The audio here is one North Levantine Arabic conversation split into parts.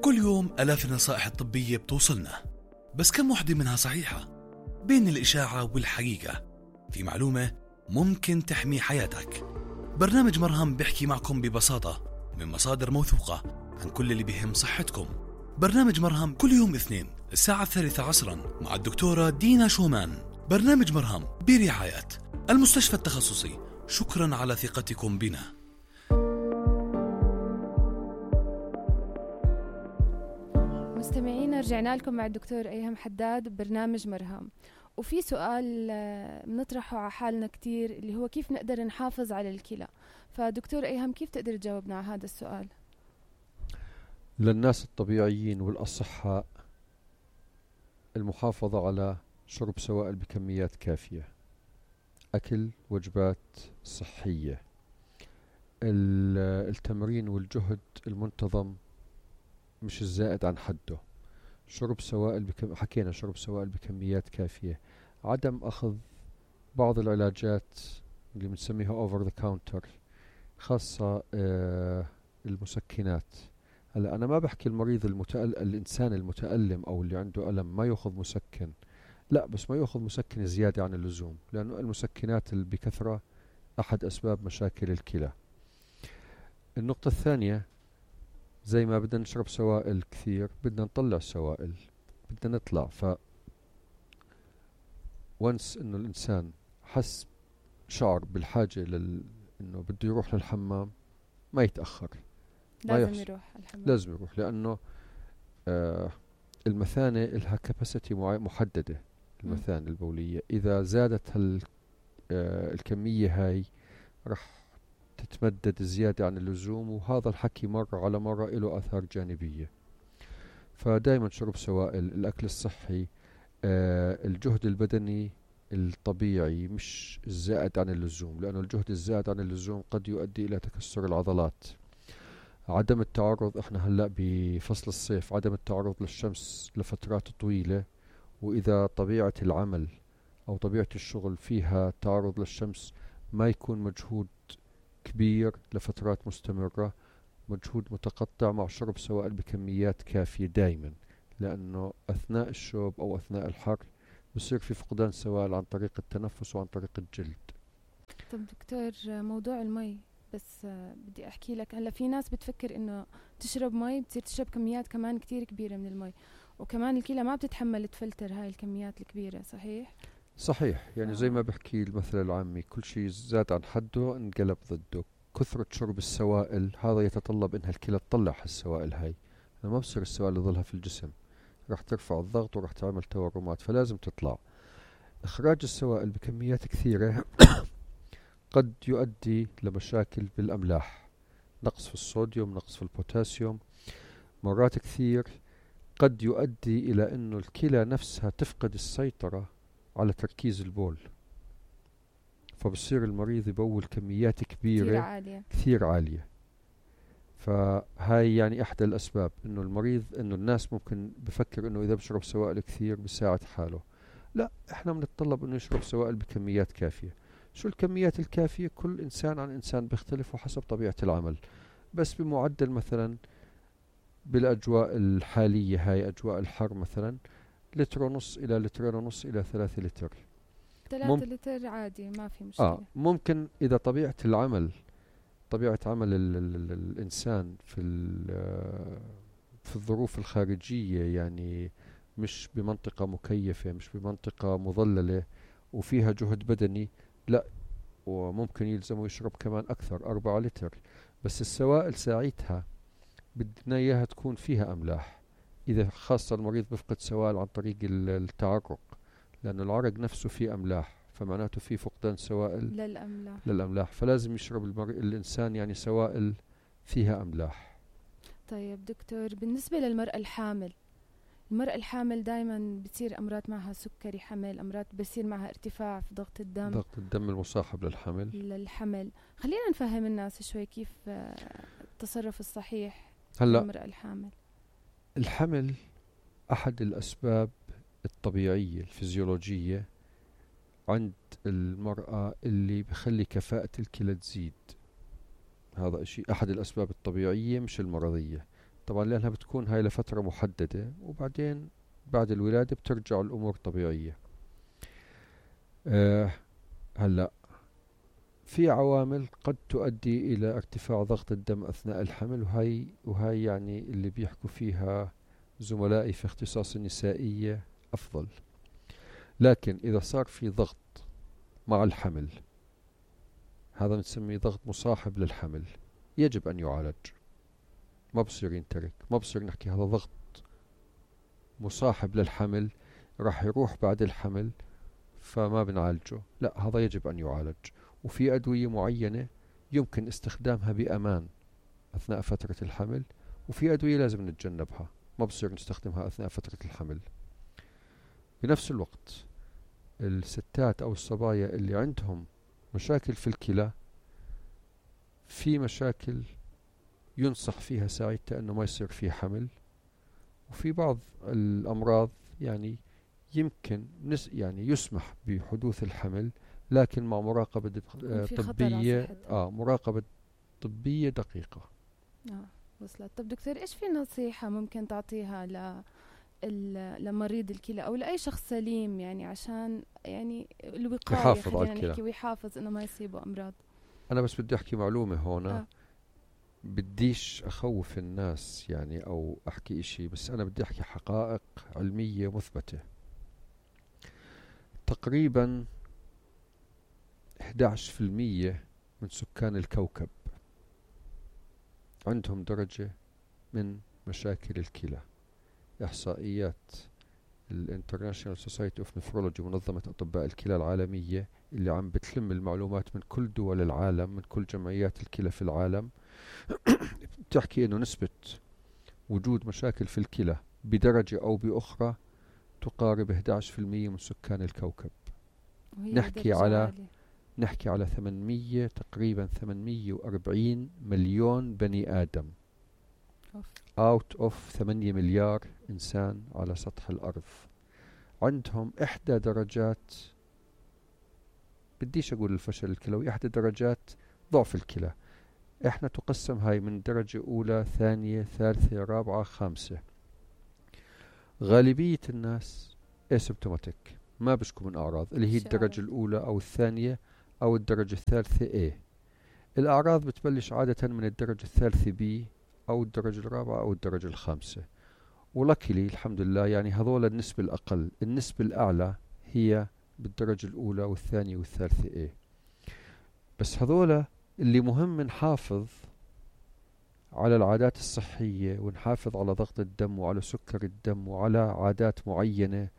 كل يوم آلاف النصائح الطبية بتوصلنا، بس كم وحدة منها صحيحة؟ بين الإشاعة والحقيقة في معلومة ممكن تحمي حياتك. برنامج مرهم بيحكي معكم ببساطة من مصادر موثوقة عن كل اللي بيهم صحتكم. برنامج مرهم كل يوم اثنين الساعة 3 عصرا مع الدكتورة دينا شومان. برنامج مرهم برعاية المستشفى التخصصي. شكرا على ثقتكم بنا. مستمعينا، رجعنا لكم مع الدكتور أيهم حداد ببرنامج مرهم. وفي سؤال بنطرحه على حالنا كتير اللي هو كيف نقدر نحافظ على الكلى. فدكتور أيهم، كيف تقدر تجاوبنا على هذا السؤال؟ للناس الطبيعيين والأصحاء المحافظة على شرب سوائل بكميات كافية، أكل وجبات صحية، التمرين والجهد المنتظم مش الزائد عن حده، شرب سوائل حكينا شرب سوائل بكميات كافية، عدم أخذ بعض العلاجات اللي بنسميها over the counter، خاصة المسكنات. هلا أنا ما بحكي المريض الإنسان المتألم أو اللي عنده ألم ما يأخذ مسكن، لا، بس ما يأخذ مسكن زيادة عن اللزوم، لأنه المسكنات اللي بكثرة أحد أسباب مشاكل الكلى. النقطة الثانية، زي ما بدنا نشرب سوائل كثير بدنا نطلع سوائل، بدنا نطلع. وانس إنه الإنسان حس شعر بالحاجة إنه بده يروح للحمام ما يتأخر، لازم يروح الحمام، لازم يروح، لأنه المثانة لها كاباسيتي محددة. المثانة البولية إذا زادت الكمية هاي رح تتمدد زيادة عن اللزوم، وهذا الحكي مرة على مرة له آثار جانبية. فدائما شرب سوائل، الأكل الصحي، الجهد البدني الطبيعي مش الزائد عن اللزوم، لأنه الجهد الزائد عن اللزوم قد يؤدي إلى تكسر العضلات. عدم التعرض، احنا هلأ بفصل الصيف، عدم التعرض للشمس لفترات طويلة، وإذا طبيعة العمل أو طبيعة الشغل فيها تعرض للشمس ما يكون مجهود كبير لفترات مستمرة، مجهود متقطع مع شرب سوائل بكميات كافية دائما، لأنه أثناء الشوب أو أثناء الحر بصير في فقدان سوائل عن طريق التنفس وعن طريق الجلد. طب دكتور، موضوع المي بس بدي أحكي لك. هلا في ناس بتفكر إنه تشرب مي بتصير تشرب كميات كمان كتير كبيرة من المي، وكمان الكلى ما بتتحمل تفلتر هاي الكميات الكبيرة، صحيح؟ صحيح، يعني زي ما بحكي المثل العامي، كل شيء زاد عن حده انقلب ضده. كثرة شرب السوائل هذا يتطلب انها الكلى تطلع السوائل هاي، ما بصير السوائل تظلها في الجسم، راح ترفع الضغط وراح تعمل تورمات، فلازم تطلع. اخراج السوائل بكميات كثيرة قد يؤدي لمشاكل بالاملاح، نقص في الصوديوم، نقص في البوتاسيوم، مرات كثير قد يؤدي الى انه الكلى نفسها تفقد السيطرة على تركيز البول، فبصير المريض يبول كميات كبيرة كثير عالية. فهاي يعني احدى الاسباب انه المريض، انه الناس ممكن بفكر انه اذا بشرب سوائل كثير بيساعد حاله. لا، احنا بنتطلب انه يشرب سوائل بكميات كافية. شو الكميات الكافية؟ كل انسان عن انسان بيختلف وحسب طبيعة العمل، بس بمعدل مثلا بالاجواء الحالية هاي اجواء الحر مثلا 1.5 إلى 2.5 إلى 3 لتر. 3 لتر عادي، ما في مشكلة. ممكن إذا طبيعة العمل، طبيعة عمل الإنسان في الظروف الخارجية، يعني مش بمنطقة مكيفة، مش بمنطقة مظللة وفيها جهد بدني، لا، وممكن يلزمه يشرب كمان أكثر 4 لتر. بس السوائل ساعتها بدنا إياها تكون فيها أملاح، إذا خاصة المريض بفقد سوائل عن طريق التعرق، لأن العرق نفسه فيه أملاح، فمعناته فيه فقدان سوائل للأملاح، فلازم يشرب الإنسان يعني سوائل فيها أملاح. طيب دكتور، بالنسبة للمرأة الحامل، المرأة الحامل دائما بتصير أمراض معها سكري حمل، أمراض بصير معها ارتفاع في ضغط الدم المصاحب للحمل. خلينا نفهم الناس شوي كيف التصرف الصحيح للمرأة الحامل. الحمل أحد الأسباب الطبيعية الفيزيولوجية عند المرأة اللي بخلي كفاءة الكلى تزيد. هذا شيء أحد الأسباب الطبيعية مش المرضية. طبعا لأنها بتكون هاي لفترة محددة، وبعدين بعد الولادة بترجع الأمور طبيعية. هلأ في عوامل قد تؤدي إلى ارتفاع ضغط الدم أثناء الحمل، وهي يعني اللي بيحكوا فيها زملائي في اختصاص النسائية أفضل. لكن إذا صار في ضغط مع الحمل، هذا نسميه ضغط مصاحب للحمل، يجب أن يعالج. ما بصير ينترك، ما بصير نحكي هذا ضغط مصاحب للحمل راح يروح بعد الحمل فما بنعالجه. لا، هذا يجب أن يعالج. وفي أدوية معينة يمكن استخدامها بأمان أثناء فترة الحمل، وفي أدوية لازم نتجنبها، ما بصير نستخدمها أثناء فترة الحمل. بنفس الوقت الستات أو الصبايا اللي عندهم مشاكل في الكلى، في مشاكل ينصح فيها ساعتها أنه ما يصير فيه حمل، وفي بعض الأمراض يعني يمكن يعني يسمح بحدوث الحمل، لكن مع مراقبة طبية مراقبة طبية دقيقة. وصلت. طب دكتور، إيش في نصيحة ممكن تعطيها لمريض الكلى أو لأي شخص سليم، يعني عشان يعني الوقاية يحافظ على الكلى، نحكي ويحافظ إنه ما يصيبه أمراض؟ أنا بس بدي أحكي معلومة هنا. بديش أخوف الناس يعني أو أحكي إشي، بس أنا بدي أحكي حقائق علمية مثبتة. تقريبا 11% من سكان الكوكب عندهم درجة من مشاكل الكلى. إحصائيات الانترناشنال سوسايتي اوف نفرولوجي، منظمة أطباء الكلى العالمية، اللي عم بتلم المعلومات من كل دول العالم، من كل جمعيات الكلى في العالم، بتحكي إنه نسبة وجود مشاكل في الكلى بدرجة أو بأخرى تقارب 11% من سكان الكوكب. نحكي على تقريبا 840 مليون بني آدم out of 8 مليار إنسان على سطح الأرض، عندهم إحدى درجات، بديش أقول الفشل الكلوي، إحدى درجات ضعف الكلى. إحنا تقسم هاي من درجة أولى، ثانية، ثالثة، رابعة، خامسة. غالبية الناس asymptomatic، ما بشكوا من أعراض، اللي هي الدرجة الأولى أو الثانية أو الدرجة الثالثة A. الأعراض بتبلش عادة من الدرجة الثالثة B أو الدرجة الرابعة أو الدرجة الخامسة. ولكلي الحمد لله يعني هذول النسبة الأقل. النسبة الأعلى هي بالدرجة الأولى والثانية والثالثة A. بس هذول اللي مهم نحافظ على العادات الصحية، ونحافظ على ضغط الدم وعلى سكر الدم وعلى عادات معينة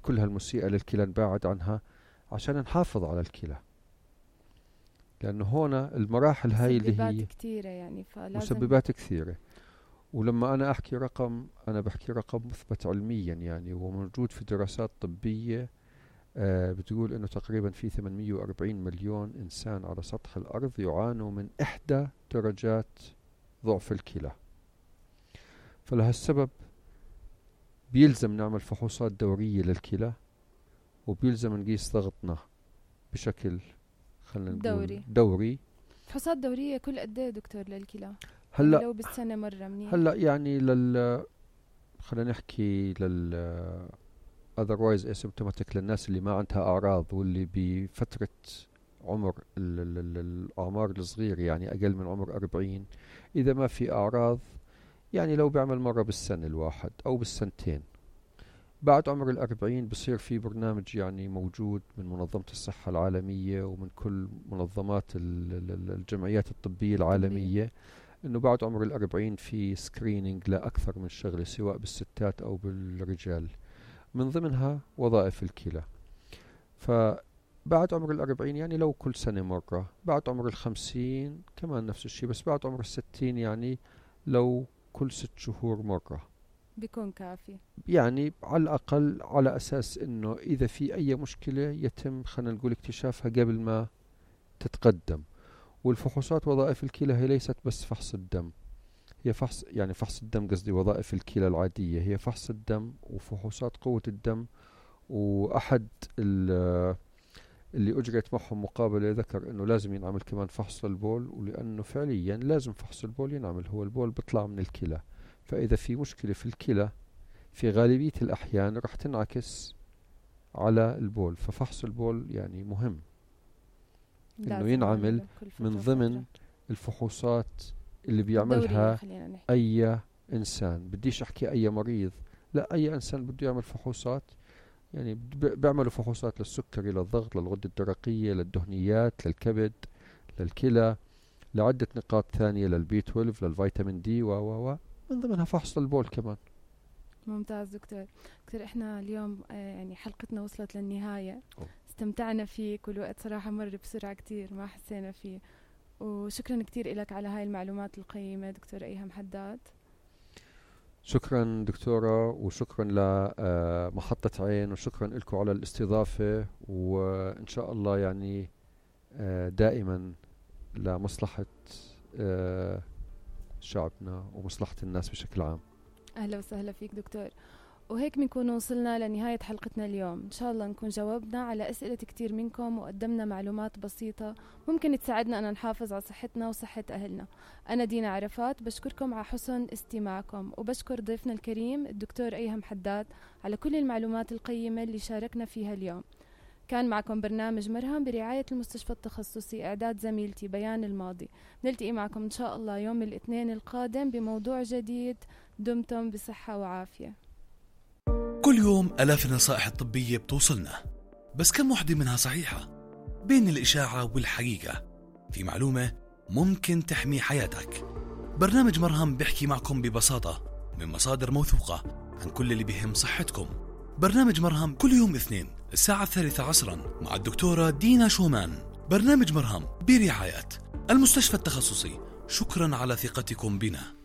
كلها المسيئة للكلى نبعد عنها عشان نحافظ على الكلى. لأنه هنا المراحل هاي اللي هي كثيرة، يعني فلازم مسببات كثيرة. ولما أنا أحكي رقم، أنا بحكي رقم مثبت علميا يعني، وموجود في دراسات طبية بتقول إنه تقريبا في 840 مليون إنسان على سطح الأرض يعانوا من إحدى درجات ضعف الكلى. فلهالسبب بيلزم نعمل فحوصات دورية للكلى، وبيلزم نقيس ضغطنا بشكل خلينا نقول دوري. فحوصات دورية كل قد ايه دكتور للكلى؟ هلا لو بالسنة مرة منيح. هلا يعني خلينا نحكي otherwise asymptomatic، للناس اللي ما عندها أعراض واللي بفترة عمر الأعمار الصغير، يعني أقل من عمر 40، إذا ما في أعراض يعني لو بيعمل مرة بالسنة الواحد أو بالسنتين. بعد عمر 40 بصير في برنامج يعني موجود من منظمة الصحة العالمية ومن كل منظمات الجمعيات الطبية العالمية، إنه بعد عمر 40 في سكرينينج لأكثر من شغلة سواء بالستات أو بالرجال، من ضمنها وظائف الكلى. فبعد عمر 40 يعني لو كل سنة مرة، بعد عمر 50 كمان نفس الشيء، بس بعد عمر 60 يعني لو كل 6 شهور مرة بيكون كافي، يعني على الأقل، على أساس إنه إذا في أي مشكلة يتم خلينا نقول اكتشافها قبل ما تتقدم. والفحوصات وظائف الكلى هي ليست بس فحص الدم، هي فحص الدم، قصدي وظائف الكلى العادية هي فحص الدم وفحوصات قوة الدم. وأحد اللي أجريت معهم مقابلة ذكر إنه لازم ينعمل كمان فحص البول، ولأنه فعليا لازم فحص البول ينعمل. هو البول بيطلع من الكلى، فإذا في مشكلة في الكلى في غالبية الأحيان رح تنعكس على البول. ففحص البول يعني مهم إنه ينعمل من ضمن الفحوصات اللي بيعملها أي إنسان. بديش أحكي أي مريض، لا، أي إنسان بده يعمل فحوصات. يعني بيعملوا فحوصات للسكري، للضغط، للغدة الدرقية، للدهنيات، للكبد، للكلى، لعدة نقاط ثانية، للبي 12، للفيتامين دي من ضمنها فحص البول كمان. ممتاز دكتور. احنا اليوم يعني حلقتنا وصلت للنهاية. استمتعنا فيك، والوقت صراحة مر بسرعة كتير ما حسينا فيه. وشكرا كتير لك على هاي المعلومات القيمة دكتور أيهم حداد. شكرا دكتورة، وشكرا لمحطة عين، وشكرا لكم على الاستضافة. وإن شاء الله يعني دائما لمصلحة شعبنا ومصلحة الناس بشكل عام. أهلا وسهلا فيك دكتور. وهيك بنكون وصلنا لنهاية حلقتنا اليوم. إن شاء الله نكون جاوبنا على أسئلة كتير منكم وقدمنا معلومات بسيطة ممكن تساعدنا أن نحافظ على صحتنا وصحة أهلنا. أنا دينا عرفات، بشكركم على حسن استماعكم، وبشكر ضيفنا الكريم الدكتور أيهم حداد على كل المعلومات القيمة اللي شاركنا فيها اليوم. كان معكم برنامج مرهم برعاية المستشفى التخصصي، إعداد زميلتي بيان الماضي. نلتقي معكم إن شاء الله يوم الاثنين القادم بموضوع جديد. دمتم بصحة وعافية. كل يوم آلاف النصائح الطبية بتوصلنا، بس كم وحدة منها صحيحة؟ بين الإشاعة والحقيقة في معلومة ممكن تحمي حياتك. برنامج مرهم بيحكي معكم ببساطة من مصادر موثوقة عن كل اللي بيهم صحتكم. برنامج مرهم كل يوم اثنين الساعة 3 عصرا مع الدكتورة دينا شومان. برنامج مرهم برعاية المستشفى التخصصي. شكرا على ثقتكم بنا.